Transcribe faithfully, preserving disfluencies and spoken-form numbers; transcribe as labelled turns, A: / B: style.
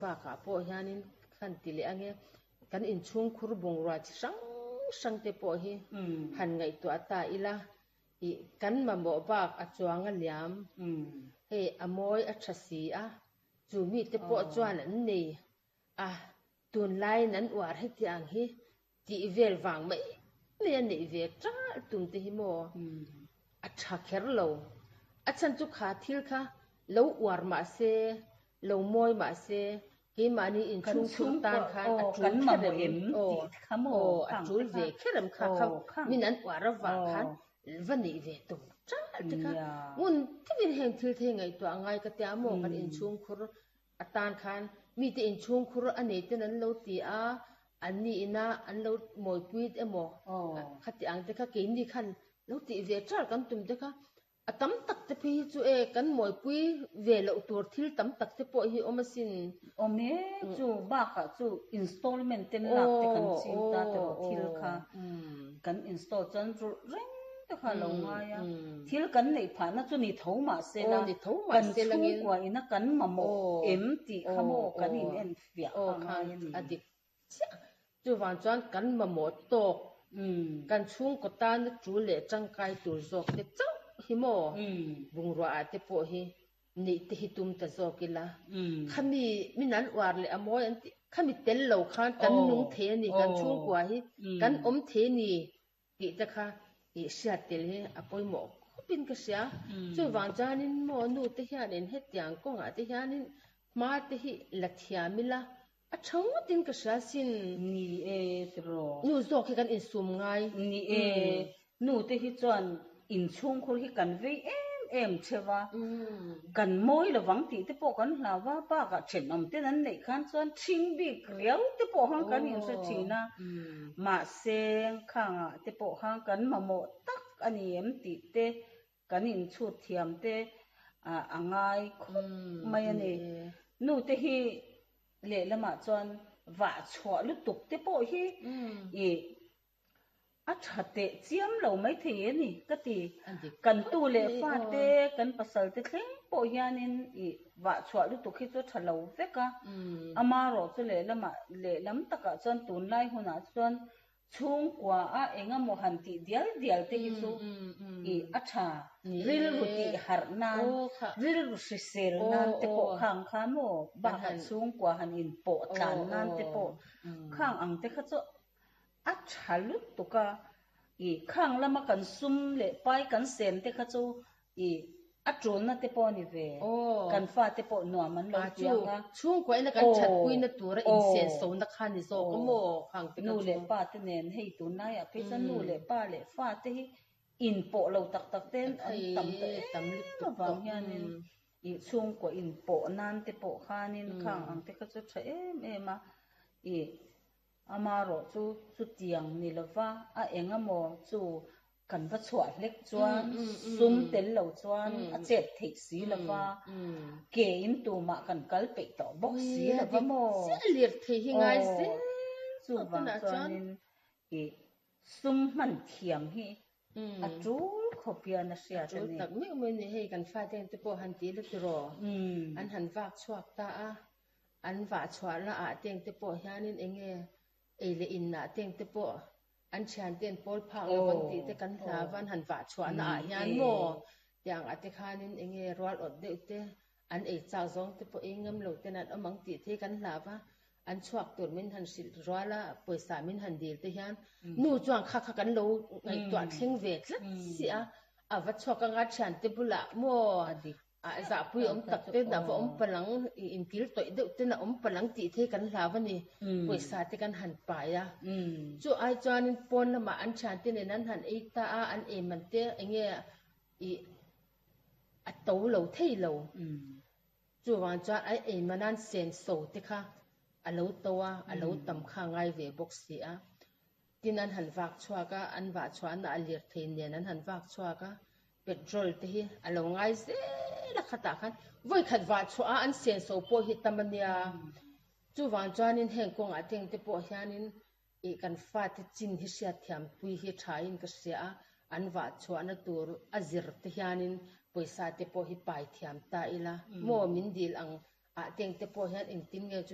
A: Bakah pawh hianin khan ti leh ange kan inchhungkhur bungrua chi hrang hrang te pawh hi han ngaihtuah ta ila ih kan mamawh bak a chuang a liam hei a mawi a tha si a chu mite pawh chuan an nei a tunlaiin an uar hetiang hi tih vel vang mai mai a neih ve ṭalh tum te hi maw a tha kher lo a chhan chu kha thil kha lo uar mah se lo mawi mah se keimahni inchhungkhur tan khan a tul kher em aw aw a tul ve kher em kha kha min an uar avang khan va neih ve tum ṭalh te kha ngun takin heng thil te hi ngaihtuah a ngai ka tia maw kan inchhungkhur atan khan mite inchhungkhur a nei ten an lo ti a an ni ina an lo mawipui emaw khati ang te kha keini khan lo tih ve ṭalh kan tum te kha a tam tak te phei hi chu e kan mawipui ve loh tur thil tam tak te pawh hi awm asin.
B: Awm e, chu bakah chu installment ten lak te kan ching ta tawh thil kha kan install chuan rulh reng te kha lo ngai a, thil kan neih phahna chu ni tho mah se la, kan chhungkua ina kan mamawh em tih kha maw kan in en fiah kha ngai a ni.
A: A dik chiah, chuvang chuan kan mamawh tawk, kan chhungkaw tana tul leh tangkai tur zawk te chauh hi maw bungrua ah te pawh hi neih te hi tum ta zawk ila, khami min an uar leh a mawi an tih, khami tel lo khan kan nung thei a ni, kan chhungkua hi kan awm thei a ni tih te kha ih hriat tel hi a pawimawh khawpin ka hria. Chuvang chuanin maw nu te hianin hetiang kawngah te hianin hma te hi la thiam ila a tha ngawtin ka hria sin.
B: Ni e tiraw.
A: Nu zawk hi kan insum ngai.
B: Ni e, nu te hi chuan inchhungkhur hi kan vei em em theuh a, kan mawi lovang tih te pawh kan hlau a, bakah thenawm ten an neih khan chuan ṭhing bik riau te pawh khan kan inhre ṭhin a, mahse khangah te pawh khan kan mamawh tak a ni em tih te kan inchhut thiam te a ngai khawp mai a ni. Nu te hi lehlamah chuan vah chhuah lutuk te pawh hi ih a tha teh chiam lo mai thei a ni ka ti. Kan tu leh fa te, kan pasal te thleng pawh hianin ih vah chhuah lutuk hi chu a tha lo vek a. Amaherawh chu lehlamah lehlam takah chuan tunlai hunah chuan chhungkua a engemaw han tih dial dial te hi chu ih a tha. Rilru tih harh nan, rilru hrisel nan te pawh khang kha maw bakah chhungkua han inpawh tlan nan te pawh khang ang te kha chu a tha lutuk a, ih khang lama kan sum leh pai kan sen te kha chu ih a tulna te pawh a ni ve, kan fa te pawh nuam an lo ti ang a.
A: Chhungkua ina kan thatpuina tura insensona kha ni zawk a maw khang te kha
B: chu. Nu leh pa te nen hei tunlaiah phei chuan nu leh pa leh fa te hi inpawh lo tak tak ten an tam ta em avang hianin ih chhungkua inpawh nan te pawh khanin khang ang te kha chu tha em em a, ih Amaherawh chu chutiang ni lova a eng emaw chu kan va chhuah hlek chuan sum tel lo chuan a chet theih si lova, ke in tumah kan kal peih tawh bawk si lova maw? Aw, chuvang chuanin ih sum hman thiam hi a tul khawp hian a hriat a ni.
A: A tul tak meuh mai ni, hei kan fate te pawh han ti la tiraw? An han vak chhuak ta a. An vah chhuahna ah teng te pawh hianin eng nge ei leh in ah teng te pawh an thian ten pawl phak lo an tih te kan hlau a, an han vah chhuahna ah hian maw tiang ah te khanin eng nge rual awt deuh te an ei chak zawng te pawh ei ngam lo ten an awm ang tih te hi kan hlau a, an chhuak tur min han hrilh rual a, pawisa min han dil te hian nu chuan kha kha kan lo ngaihtuah thleng ve tlat si a, a va chhuak anga thian te bulah maw A zahpui awm tak te a va awm palang, inkil tawih deuh ten a awm palang tih te hi kan hlau a ni. Pawisa te kan han pai a. Chu ai chuanin pawn lamah an thiante nen an han ei ta a, an ei man te eng nge ih a to lo thei lo. Chuvang chuan a ei man an senso te kha a lo to a, a lo tam kha a ngai ve bawk si a. Tin an han vak chhuak a, an vah chhuahna a lirthei nen an han vak chhuak a, petrol te hi a lo ngai zel a khatah khan vawi khat vah chhuah a an senso pawh hi tam a nia. Chuvang chuanin heng kawngah teng te pawh hianin ih kan fate chin hi hriatthiam pui hi thain ka hria a, an vah chhuahna tur a zir te hianin pawisa te pawh hi pai thiam ta ila maw min dil ang ah teng te pawh hian engtin nge chu